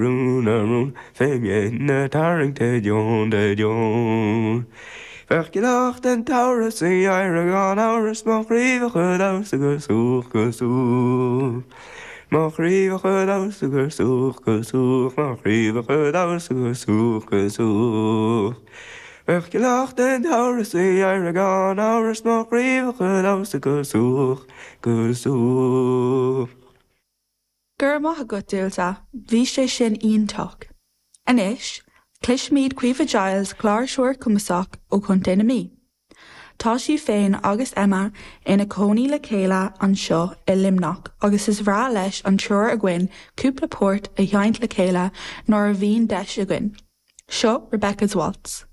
Rún a rún fé mhéin a tarraingt a deon de deon. Bheadh gealach den tsamhradh sa gheimhreadh gan amhras mo chraobhacha damhsa go súch go súch. Mo chraobhacha damhsa go súch go súch mo chraobhacha damhsa go súch go súch. Bheadh gealach den tsamhradh sa gheimhreadh gan amhras mo chraobhacha damhsa go súch go súch. Go raibh maith agat, Dualta, bhí sé sin iontach. Anois, cloisfimid Caoimhe Giles, cláirseoir cumasach ó Chontae na Mí. Tá sí féin agus Emma ina cónaí le chéile anseo i Luimneach agus is bhreá leis an triúr againn cúpla port a sheinnt le chéile nuair a bhíonn deis againn. Seo Rebecca's Waltz.